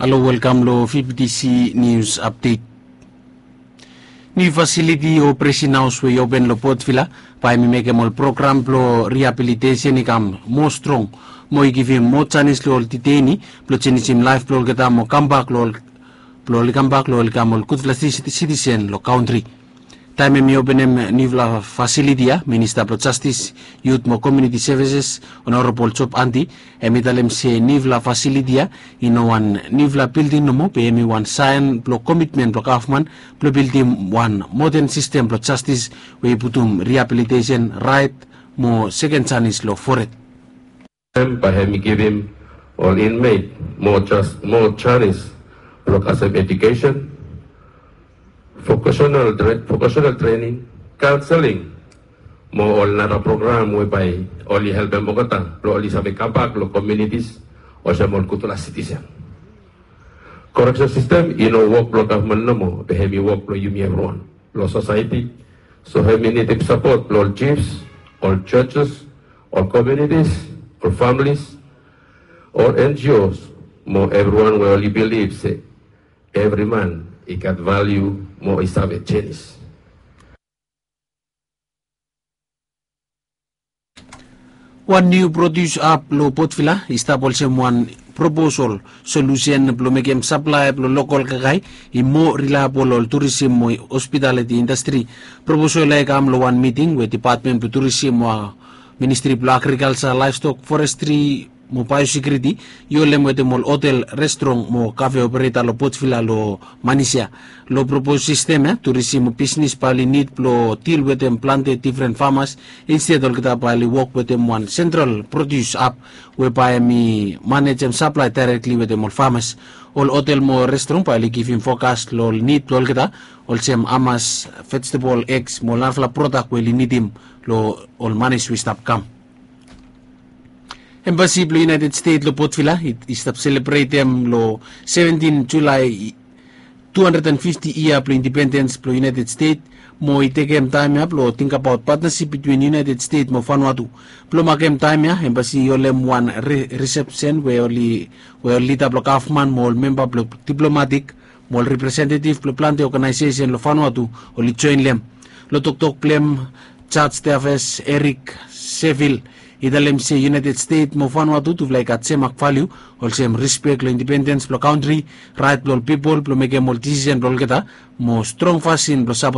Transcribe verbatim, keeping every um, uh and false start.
Halo, welkam lo F B C News Update. Niu fasiliti o presin haos we i open lo Port Vila bae hem i mekem ol program blo rehabilitation i kam moa strong, mo i givim moa janis lo ol detainee blo jenisim laef blo olgeta mo kambak lo ol blo oli kambak lo oli kam ol gudfala siti- sitisen lo kantri. Taem hem i openem niufala fasiliti ya, Minista blo Jastis, Yut mo Komuniti Sevises, Honorabol Job Andy, hem i talem se niufala fasiliti ya i no wan niufala bilding nomo, be hem i wan saen blo komitmen blo gavman blo bildim wan moden sistem blo jastis we i putum rehabilitation, raet mo seken janis lo fored. Hem bae hem i givim ol inmeit moa jas- moa janis blo kasem edukesen, vocational tre- vocational trening, kaonseling, mo ol nara program we bae oli helpem olgeta blo oli save kambak lo komunitis olsem ol gudfala sitisen. Koreksen sistem i no wok blo gavman nomo, be hem i wok blo yumi evriwan lo sosaeti. So hem i nidim sapot blo ol jifs, ol jojes, ol komunitis, ol familis, ol N G Os, mo evriwan we oli bilif se evri man i gat valiu mo i save jenis. Wan niu produs ap lo Port Vila i stap olsem wan proposal solusen blo mekem saplae blo lokol kakae i moa rilaebol lo ol turisim mo hospitaliti indastri. Proposal ya i kam lo wan miting we depatmen blo turisim mo ministri blo agrikalja, laevstok, forestri mo baeosekiuriti i holem wetem ol hotel, restrong mo kafe opereta lo Port Vila lo manis ya. Lo propos sistem ya, turisim mo bisnis bae oli nid blo dil wetem plante difren famas, insted olgeta bae oli wok wetem wan sentral produs ap we bae hem i manejem saplae daerekli wetem ol famas. Ol hotel mo restrong bae oli givim fokas lo ol nid blo olgeta, olsem hamas, vejetebol, egs mo ol narafala prodak we oli nidim lo ol manis we i stap kam. Embasi blo United States lo Port Vila i, i stap selebretem lo seventin Julae tu handred and fifti yia blo indipendens blo United States, mo i tekem taem ya blo tingbaot patnasip bitwin United States mo Vanuatu. Blo makem taem ya, embasi i holem wan re- risepsen we oli we ol lida blo gavman mo ol memba blo diplomatik mo ol representetiv blo plante oganaesesen lo Vanuatu oli joenem. Lo toktok blong hem, Jaj Teafes Erik Sevil i talem se United States mo Vanuatu tufala i gat sem mak valiu, olsem rispek lo indipendens blo kantri, raet blo ol pipol blo mekem ol disisen blo olgeta, mo strong fasin blo sapotem